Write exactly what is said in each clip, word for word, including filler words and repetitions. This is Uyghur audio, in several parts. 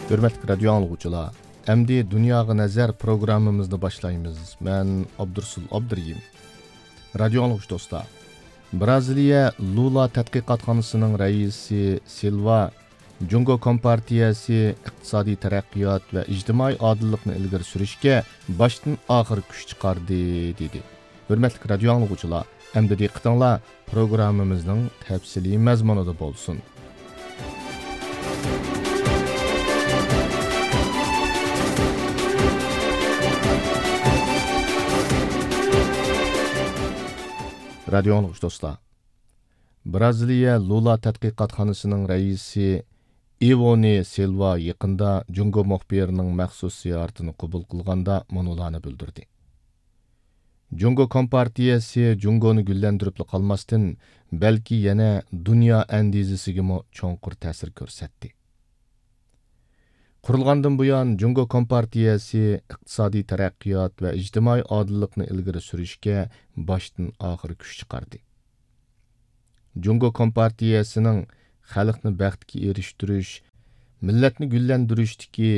ھۆرمەتلىك رادىيو ئاڭلىغۇچىلار، ئەمدى دۇنياغا نەزەر پروگراممىمىزنى باشلايمىز. مەن ئابدۇرسۇل ئابدۇرېھىم. رادىيو ئاڭلىغۇچى دوستلار، بىرازىلىيە لۇلا تەتقىقاتخانىسىنىڭ رەئىسى سىلۋا جۇڭگو كومپارتىيەسى ئىقتىسادىي تەرەققىيات ۋە ئىجتىمائىي ئادىللىقنى ئىلگىرى سۈرۈشكە باشتىن ئاخىر كۈچ چىقاردى، دېدى. ھۆرمەتلىك رادىيو ئاڭلىغۇچىلار، ئەمدى دىققىتىڭلار پروگراممىمىزنىڭ تەپسىلىي مەزمۇنىدا بولسۇن. رادىيو ئاڭلىغۇچى دوستلار، بىرازىلىيە لۇلا تەتقىقاتخانىسىنىڭ رەئىسى ئىۋونى سىلۋا يېقىندا جۇڭگو مۇخبىرىنىڭ مەخسۇس زىيارىتىنى قوبۇل قىلغاندا مۇنۇلارنى بىلدۈردى. جۇڭگو كومپارتىيەسى جۇڭگونى گۈللەندۈرۈپلا قالماستىن، بەلكى يەنە دۇنيا ئەندىزىسىگىمۇ چوڭقۇر تەسىر كۆرسەتتى. قۇرۇلغاندىن بۇيان، جۇڭگو كومپارتىيەسى ئىقتىسادىي تەرەققىيات ۋە ئىجتىمائىي ئادىللىقنى ئىلگىرى سۈرۈشكە باشتىن ئاخىر كۈچ چىقاردى. جۇڭگو كومپارتىيەسىنىڭ خەلقنى بەختكە ئېرىشتۈرۈش، مىللەتنى گۈللەندۈرۈشتىكى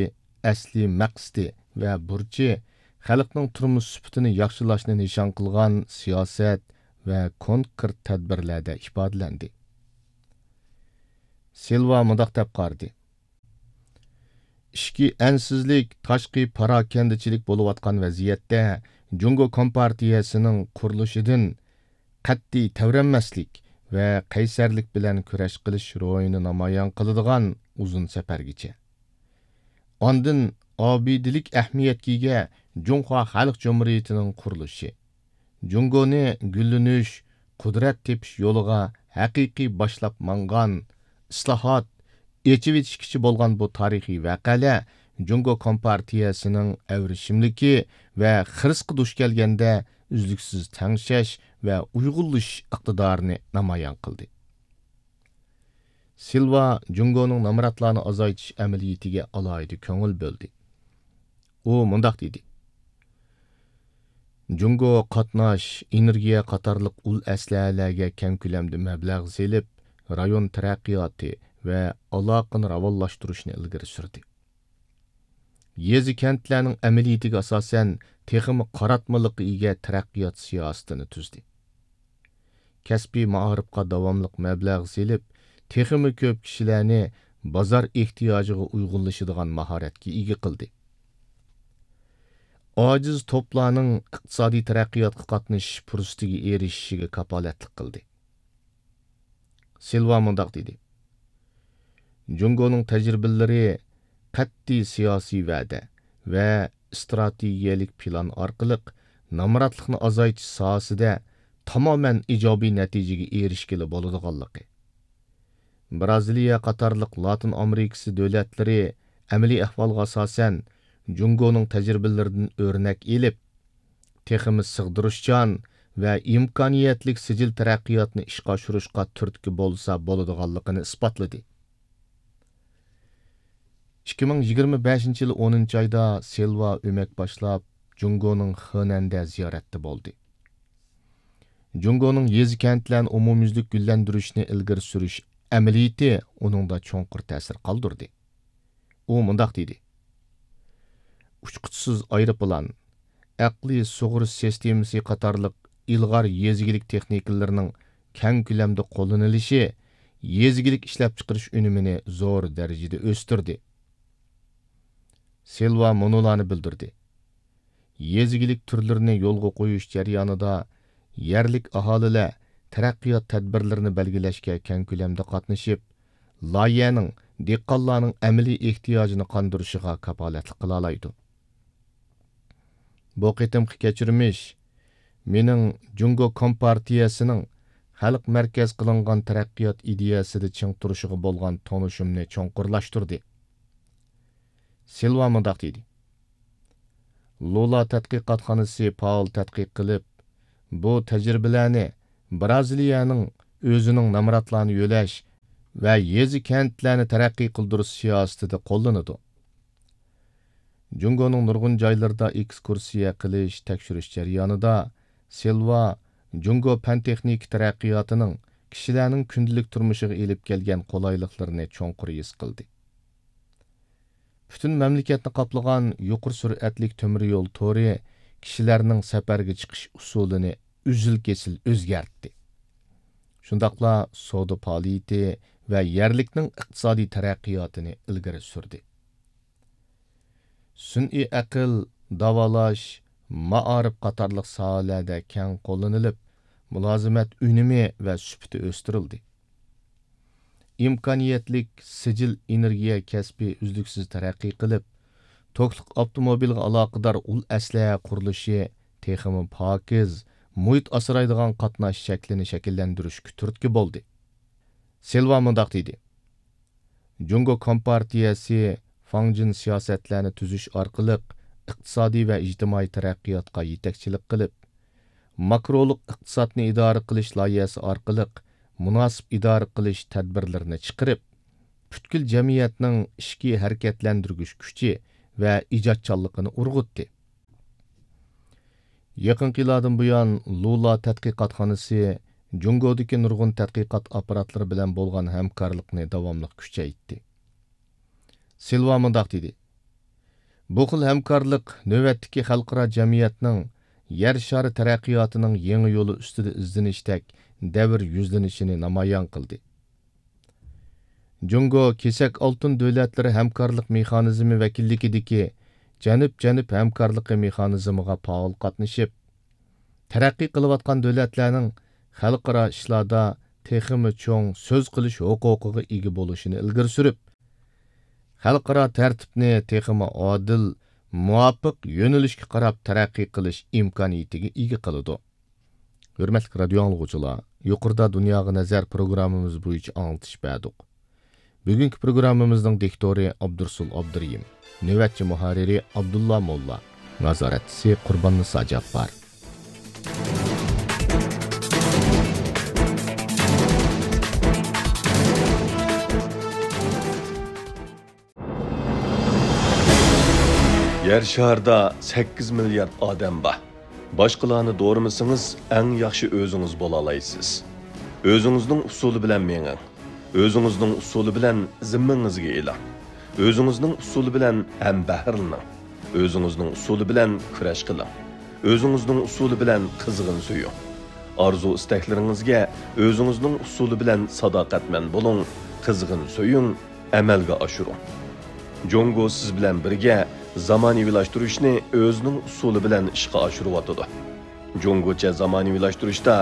ئەسلىي مەقسىتى ۋە بۇرچى خەلقنىڭ تۇرمۇش سۈپىتىنى ياخشىلاشنى نىشان قىلغان سىياسەت ۋە كونكرېت تەدبىرلەردە ئىپادىلەندى. سىلۋا مۇنداق دەپ قارىدى: ئىچكى ئەنسىزلىك، تاشقى پاراكەندىچىلىك بولۇۋاتقان ۋەزىيەتتە، جۇڭگو كومپارتىيەسىنىڭ قۇرۇلۇشىدىن قەتئىي تەۋرەنمەسلىك ۋە قەيسەرلىك بىلەن كۈرەش قىلىش روھىنى نامايان قىلىدىغان ئۇزۇن سەپەرگىچە، ئاندىن ئابىدىلىك ئەھمىيەتكە ئىگە جۇڭخۇا خەلق جۇمھۇرىيىتىنىڭ قۇرۇلۇشى، جۇڭگونى گۈللىنىش، قۇدرەت تېپىش يولىغا ھەقىقىي باشلاپ ماڭغان، ئىسلاھات، ئېچىۋېتىشكىچە بولغان بۇ تارىخىي ۋەقەلەر جۇڭگو كومپارتىيەسىنىڭ ئەۋرىشىملىكى ۋە خىرىسقا دۇچ كەلگەندە ئۈزلۈكسىز تەڭشەش ۋە ئۇيغۇنلىشىش ئىقتىدارىنى نامايان قىلدى. سىلۋا جۇڭگونىڭ نامراتلارنى ئازايتىش ئەمەلىيىتىگە ئالاھىدە كۆڭۈل بۆلدى. ئۇ مۇنداق دېدى: جۇڭگو قاتناش، ئېنېرگىيە قاتارلىق ئۇل ئەسلىھەلەرگە كەڭ كۆلەمدە مەبلەغ سېلىپ، رايون تەرەققىياتى ۋە ئالاقىنى راۋانلاشتۇرۇشنى ئىلگىرى سۈردى. يېزا، كەنتلەرنىڭ ئەمەلىيىتىگە ئاساسەن، تېخىمۇ قاراتمىلىققا ئىگە تەرەققىيات سىياسىتىنى تۈزدى. كەسپىي مائارىپقا داۋاملىق مەبلەغ سېلىپ، تېخىمۇ كۆپ كىشىلەرنى بازار ئېھتىياجىغا ئۇيغۇنلىشىدىغان ماھارەتكە ئىگە قىلدى. ئاجىز توپلارنىڭ ئىقتىسادىي تەرەققىياتقا قاتنىشىش پۇرسىتىگە ئېرىشىشىگە كاپالەتلىك قىلدى. سىلۋا مۇنداق دېدى: جۇڭگونىڭ تەجرىبىلىرى قەتئىي سىياسىي ۋەدە ۋە ئىستراتېگىيەلىك پىلان ئارقىلىق نامراتلىقنى ئازايتىش ساھەسىدە تامامەن ئىجابىي نەتىجىگە ئېرىشكىلى بولىدىغانلىقى، بىرازىلىيە قاتارلىق لاتىن ئامېرىكىسى دۆلەتلىرى ئەمەلىي ئەھۋالغا ئاساسەن جۇڭگونىڭ تەجرىبىلىرىدىن ئۆرنەك ئېلىپ، تېخىمۇ سىغدۇرۇشچان ۋە ئىمكانىيەتلىك سىجىل تەرەققىياتنى ئىشقا ئاشۇرۇشقا تۈرتكە بولسا بولىدىغانلىقىنى ئىسپاتلىدى. ئىككى مىڭ يىگىرمە بەشىنچى يىلى ئونىنچى ئايدا سىلۋا ئۆمەك باشلاپ، جۇڭگونىڭ خېنەندە زىيارەتتە بولدى. جۇڭگونىڭ يېزا، كەنتلەرنى ئومۇميۈزلۈك گۈللەندۈرۈشنى ئىلگىرى سۈرۈش ئەمەلىيىتى ئۇنىڭدا چوڭقۇر تەسىر قالدۇردى. ئۇ مۇنداق دېدى: ئۇچقۇچىسىز ئايروپىلان، ئەقلىي سۇغۇرۇش سىستېمىسى قاتارلىق ئىلغار يېزا ئىگىلىك تېخنىكىلىرىنىڭ كەڭ كۆلەمدە قوللىنىلىشى يېزا ئىگىلىك ئىشلەپچىقىرىش ئۈنۈمىنى زور دەرىجىدە ئۆستۈردى. سىلۋا مۇنۇلارنى بىلدۈردى: يېزا ئىگىلىك تۈرلىرىنى يولغا قويۇش جەريانىدا يەرلىك ئاھالىلەر تەرەققىيات تەدبىرلىرىنى بەلگىلەشكە كەڭ كۆلەمدە قاتنىشىپ، لايىھەنىڭ دېھقانلارنىڭ ئەمەلىي ئېھتىياجىنى قاندۇرۇشىغا كاپالەتلىك قىلالايدۇ. بۇ قېتىمقى كەچۈرمىش مېنىڭ جۇڭگو كومپارتىيەسىنىڭ خەلق مەركەز قىلىنغان تەرەققىيات ئىدىيەسىدە چىڭ تۇرۇشىغا بولغان تونۇشۇمنى چوڭقۇرلاشتۇردى. سىلۋا مۇنداق دېدى: لۇلا تەتقىقاتخانىسى پائال تەتقىق قىلىپ، بۇ تەجرىبىلەرنى بىرازىلىيەنىڭ ئۆزىنىڭ نامراتلارنى يۆلەش ۋە يېزا، كەنتلەرنى تەرەققىي قىلدۇرۇش سىياسىتىدە قوللىنىدۇ. جۇڭگونىڭ نۇرغۇن جايلىرىدا ئېكسكۇرسىيە قىلىش، تەكشۈرۈش جەريانىدا سىلۋا جۇڭگو پەن-تېخنىكا تەرەققىياتىنىڭ كىشىلەرنىڭ كۈندىلىك تۇرمۇشىغا ئېلىپ كەلگەن قولايلىقلىرىنى چوڭقۇر ھېس قىلدى. پۈتۈن مەملىكەتنى قاپلىغان يۇقىرى سۈرئەتلىك تۆمۈر يول تورى كىشىلەرنىڭ سەپەرگە چىقىش ئۇسۇلىنى ئۈزۈل-كېسىل ئۆزگەرتتى. شۇنداقلا سودا پائالىيىتى ۋە يەرلىكنىڭ ئىقتىسادىي تەرەققىياتىنى ئىلگىرى سۈردى. سۈنئىي ئەقىل، داۋالاش، مائارىپ قاتارلىق ساھەلەردە كەڭ قوللىنىلىپ، مۇلازىمەت ئۈنۈمى ۋە سۈپىتى ئۆستۈرۈلدى. ئىمكانىيەتلىك سىجىل ئېنېرگىيە كەسپى ئۈزلۈكسىز تەرەققىي قىلىپ، توكلۇق ئاپتوموبىلغا ئالاقىدار ئۇل ئەسلىھە قۇرۇلۇشى تېخىمۇ پاكىز، مۇھىت ئاسرايدىغان قاتناش شەكلىنى شەكىللەندۈرۈشكە تۈرتكە بولدى. سىلۋا مۇنداق دېدى: جۇڭگو كومپارتىيەسى فاڭجىن سىياسەتلەرنى تۈزۈش ئارقىلىق ئىقتىسادىي ۋە ئىجتىمائىي تەرەققىياتقا يېتەكچىلىك قىلىپ، ماكرولۇق ئىقتىسادنى ئىدارە قىلىش لايىھەسى ئارقىلىق مۇناسىپ ئىدارە قىلىش تەدبىرلىرىنى چىقىرىپ، پۈتكۈل جەمئىيەتنىڭ ئىچكى ھەرىكەتلەندۈرگۈچ كۈچى ۋە ئىجادچانلىقىنى ئۇرغۇتتى. يېقىنقى يىللاردىن بۇيان، لۇلا تەتقىقاتخانىسى جۇڭگودىكى نۇرغۇن تەتقىقات ئاپپاراتلىرى بىلەن بولغان ھەمكارلىقنى داۋاملىق كۈچەيتتى. سىلۋا مۇنداق دېدى: بۇ خىل ھەمكارلىق نۆۋەتتىكى خەلقئارا جەمئىيەتنىڭ يەر شارى تەرەققىياتىنىڭ يېڭى يولى ئۈستىدە ئىزدىنىشتەك دەۋر يۈزلىنىشىنى نامايان قىلدى. جۇڭگو كېسەك ئالتۇن دۆلەتلىرى ھەمكارلىق مېخانىزمى ۋەكىللىكىدىكى جەنۇب-جەنۇب ھەمكارلىقى مېخانىزمىغا پائال قاتنىشىپ، تەرەققىي قىلىۋاتقان دۆلەتلەرنىڭ خەلقئارا ئىشلاردا تېخىمۇ چوڭ سۆز قىلىش ھوقۇقىغا ئىگە بولۇشىنى ئىلگىرى سۈرۈپ، خەلقئارا تەرتىپنى تېخىمۇ ئادىل، مۇۋاپىق يۆنىلىشكە قاراپ تەرەققىي قىلىش ئىمكانىيىتىگە ئىگە قىلىدۇ. ھۆرمەتلىك رادىيو ئاڭلىغۇچىلار، يۇقىرىدا دۇنياغا نەزەر پروگراممىمىز بويىچە ئاڭلىتىش بەردۇق. بۈگۈنكى پروگراممىمىزنىڭ دىكتورى ئابدۇرۇسۇل ئابدۇرېھىم، نۆۋەتچى مۇھەررىرى ئابدۇللا موللا، نازارەتچىسى قۇرباننىسا جاپپار. يەر شارىدا سەككىز مىليارد ئادەم بار. باشقىلارنى دورىمىسىڭىز، ئەڭ ياخشى ئۆزىڭىز بولالايسىز. ئۆزىڭىزنىڭ ئۇسۇلى بىلەن مېڭىڭ. ئۆزىڭىزنىڭ ئۇسۇلى بىلەن زىممىڭىزگە ئېلىڭ. ئۆزىڭىزنىڭ ئۇسۇلى بىلەن ھەمبەھىرلىنىڭ. ئۆزىڭىزنىڭ ئۇسۇلى بىلەن كۈرەش قىلىڭ. ئۆزىڭىزنىڭ ئۇسۇلى بىلەن قىزغىن سۆيۈڭ. ئارزۇ-ئىستەكلىرىڭىزگە ئۆزىڭىزنىڭ ئۇسۇلى بىلەن ساداقەتمەن بولۇڭ، قىزغىن سۆيۈڭ، ئەمەلگە ئاشۇرۇڭ. جۇڭگو سىز بىلەن بىرگە زامانىۋىلاشتۇرۇشنى ئۆزىنىڭ ئۇسۇلى بىلەن ئىشقا ئاشۇرۇۋاتىدۇ. جۇڭگوچە زامانىۋىلاشتۇرۇشتا